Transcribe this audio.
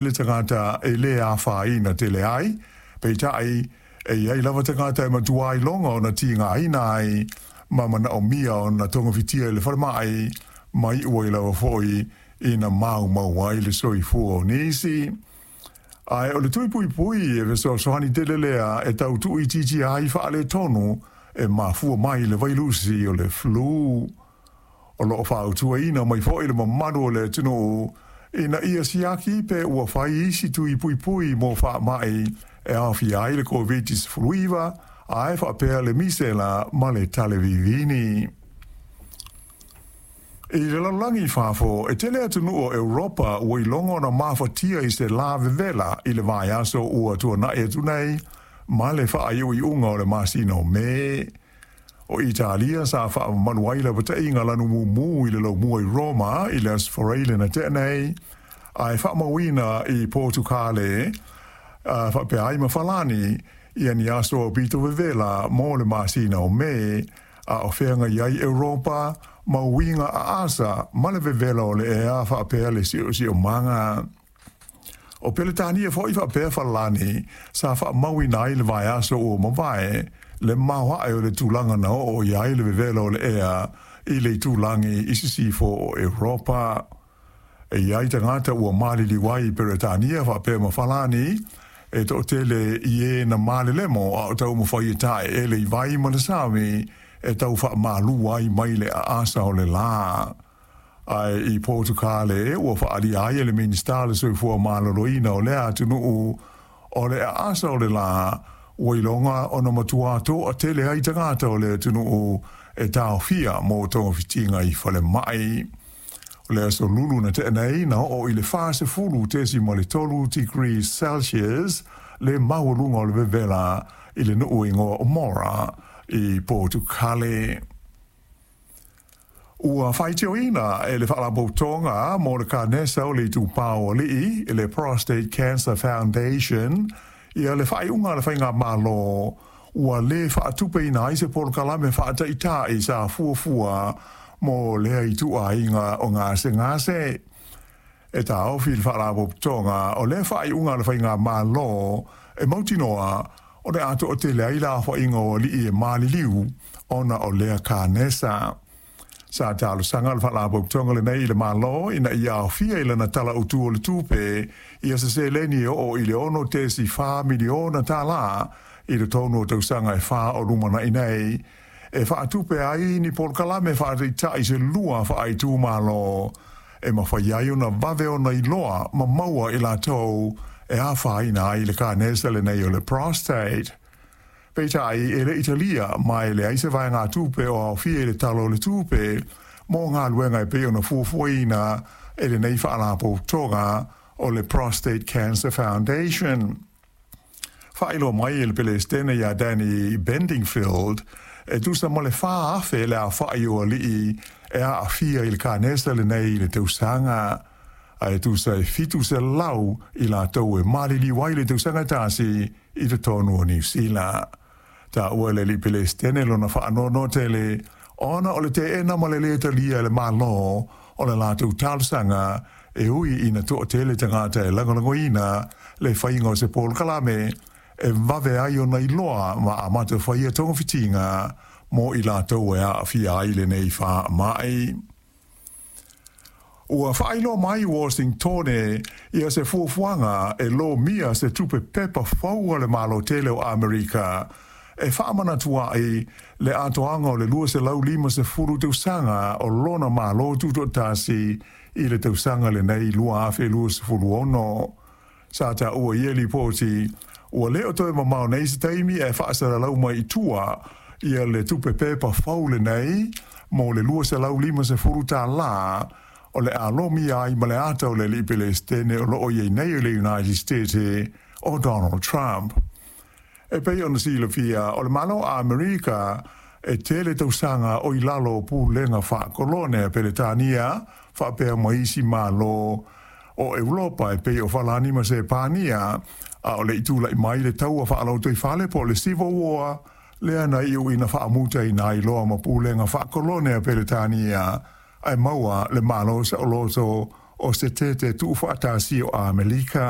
Le tagata e lē afaina tele ai, peitai, e i ai lava tagata e matua iloga ona tigaina ai ma manaomia ona togafitia i le falemai, ma iu ai lava foi ina maumau ai le soifua o nisi. Ae o le tui puipui e fesoasoani tele lea e tau tuuitiitia ai faaletonu e mafua mai i le vailusi o le flu. O lo o fautuaina mai foi le mamalu o le atunuu ina ia siaki pe ua fai isi tui puipui mo faamai e aofia ai le Koviti-19 ae faapea le misela ma le talevivini. I le lalolagi i fafo, e tele atunuu o Europa ua iloga ona mafatia i se lā vevela i le vaiaso ua tuana'i atu nei ma le faaiuiuga o le masina o Me. O Italia sa faamamalu ai lapataiga lanu mumu i le laumua i Roma i le Aso Faraile na tea nei, ae faamauina i Potukale faapea ai ma Falani ia ni aso aupito vevela mo le masina o Me, a o feagai ai Europa ma uiga aasa ma le vevela o le ea faapea le siosiomaga. O Peretania foi faapea Falani sa faamauina ai le vaiaso ua mavae le maoae o le tulaga na oo i ai le vevela o le ea i le itulagi i sisifo o Europa. E i ai tagata ua maliliu ai i Peretania faapea ma Falani, e toatele i e na malelemo a o taumafai e taeele i vai ma le sami e tau faamalu ai mai le aasa o le lā. Ae i Potukale ua faaalia ai e le Minisita le Soifua Maloloina o lea atunuu o le aasa o le lā ua iloga ona matua toatele ai tagata o le atunuu e taofia mo togafitiga i falemai. O le aso Lulu na tea nei na oo i le 40.3 degrees Celsius le maualuga o le vevela i le nuu igoa o Mora i Potukale. Ua faitioina e le Faalapotopotoga mo le Kanesa o le Itupa o Alii, le Prostate Cancer Foundation, ia le faaiuga a le Faigamalo ua lē faatupeina ai se polokalame faataitai sa fuafua mo lea ituaiga o gasegase. E taofi le Faalapotopotoga o lea faaiuga a le Faigamalo e mautinoa o le a toatele ai le aofaiga o alii e maliliu ona o lea kanesa. Sa talosaga le Faalapotopotoga lenei i le Malo ina ia aofia i lana Tala Autu o le Tupe ia se seleni e oo i le $6.4 miliona tālā i totonu o tausaga e fa o lumanai nei, e faatupe ai ni polokalame faataitai se lua faaitumalo e mafai ai ona vave ona iloa ma maua i latou e afaina ai le kanesa lenei o le prostate. Peitai, e le i talia ma e leai se vaegatupe o aofia i le Tala o le Tupe mo galuega e pei ona fuafuaina e lenei faalapotopotoga o le Prostate Cancer Foundation. Faailoa mai e le Pelesitene ia Danny Bendingfield, e tusa ma le 4,000 le aofai o alii e aafia i le kanesa lenei i le tausaga, ae tusa e 700 i latou e maliliu ai le tausaga e tasi i totonu o Niu Sila. Taua e le alii Pelesitene lona faanoanoa tele ona o le teena ma le lē talia e le Malo o le latou talosaga e ui ina toatele tagata e lagolagoina le faiga o se polokalame e vave ai ona iloa ma amata faia togafitiga mo i latou e aafia ai lenei faamai. Ua faailoa mai Washingtone ia se fuafuaga e lomia se tupe pepa fou a le Malo tele o Amerika e faamanatu ai le atoaga o le 250 tausaga o lona Malo Tutoatasi i le tausaga lenei 2026. Sa taua i ia lipoti, ua le o toe mamao nei se taimi e faasalalau mai i tua ia le tupe pepa fou lenei mo le $250 tālā o le a lomia ai ma le ata o le alii Pelesitene o lo o i ai nei o le United States o Donald Trump. E pei ona silafia, o le Malo o Amerika e tele tausaga o i lalo o pulega faakolone a Peretania faapea ma isi Malo o Europa e pei o Falani ma Sepania, a o le i tulai mai le taua faalotoifale po o le Civil War, lea na iu ina faamutaina ai loa ma pulega faakolone a Peretania ae maua le Malo saoloto o Setete Tuufaatasi o Amerika.